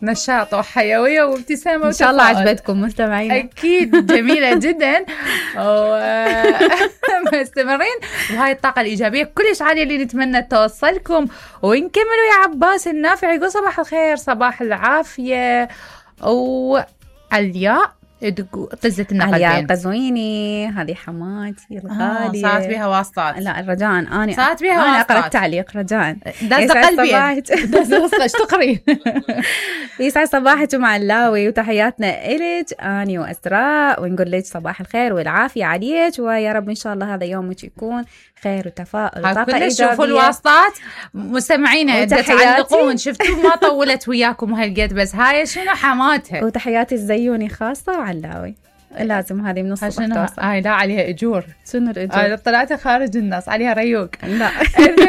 نشاط وحيوية وابتسامة إن شاء الله عجبتكم مستمعين. أكيد جميلة جدا مستمرين وهاي الطاقة الإيجابية كلش عالية اللي نتمنى توصلكم. ونكملوا يا عباس النافع يقول صباح الخير صباح العافية. وعلياء طزت النقدين علياء قزويني هذه حماتي الغالية صارت بها واسطات. لا رجاء أنا صارت بها أنا واسطات. أقرأ التعليق رجاء داز قلبي داز تقرين. يسعد صباحك مع اللاوي وتحياتنا إلك أني وأسراء ونقول لك صباح الخير والعافية عليك ويا رب إن شاء الله هذا يومك يكون خير وتفاؤل وطاقة إيجابية. شوفوا الواسطات مستمعينا تعلقون شفتوا ما طولت وياكم هالقد بس هاي شنو حماتها. وتحياتي الزيوني خاصة وعلاوي لازم هذه من الصبح توصل. لا عليها اجور. شنو الاجور؟ طلعت خارج الناس عليها ريوق. لا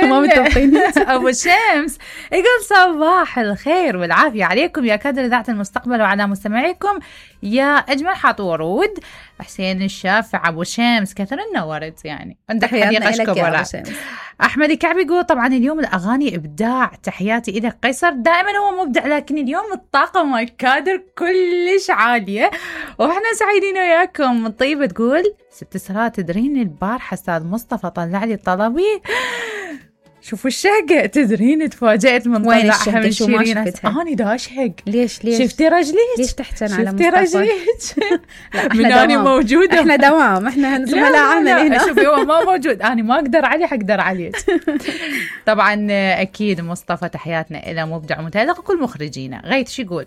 ما متوقعين. ابو شمس يقول صباح الخير والعافيه عليكم يا كادر اذاعه المستقبل وعلى مستمعيكم يا اجمل حاط ورود. حسين الشافع ابو شمس كثر النورد يعني عندك حديقه كبرى. احمد الكعبي يقول طبعا اليوم الاغاني ابداع تحياتي الى قيصر دائما هو مبدع لكن اليوم الطاقه مال الكادر كلش عاليه واحنا سعيدين وياكم. طيبه تقول ست سرا تدرين البارحه استاذ مصطفى طلع لي طلبي شوفوا الشهقة تدرين تفاجأت من طلعها من شيرين. أنا دا أشهق. ليش شفتي رجليك؟ ليش تحتن على مصطفى؟ شفتي رجليك؟ من أنا موجودة. إحنا دوام إحنا زملاء عمل هنا. شوفي هو ما موجود أنا ما أقدر عليه حقدر عليك. طبعا أكيد مصطفى تحياتنا إلى مبدع ومتألق كل مخرجينا. غيث شو يقول؟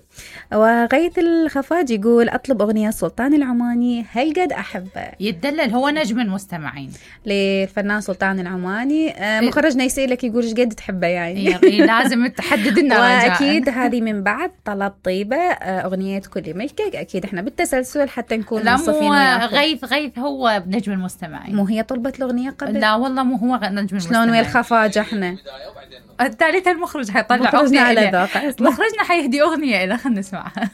وغيث الخفاج يقول أطلب أغنية سلطان العماني هل قد أحبه. يتدلل هو نجم المستمعين للفنان سلطان العماني. مخرجنا يسألك يقول ايش قد تحبه يعني. لازم تحدد لنا رجاء. واكيد هذه من بعد طلب طيبه اغنيه كل ملكك اكيد احنا بالتسلسل حتى نكون منصفين. لا غيث هو نجم المستمعين. مو هي طلبت الاغنيه قبل؟ لا والله مو هو نجم المستمعين. شلون ويا الخفاجه احنا الثالث المخرج حيطلع اغنيه على ذوق مخرجنا حيهدي اغنيه له خلينا نسمعها.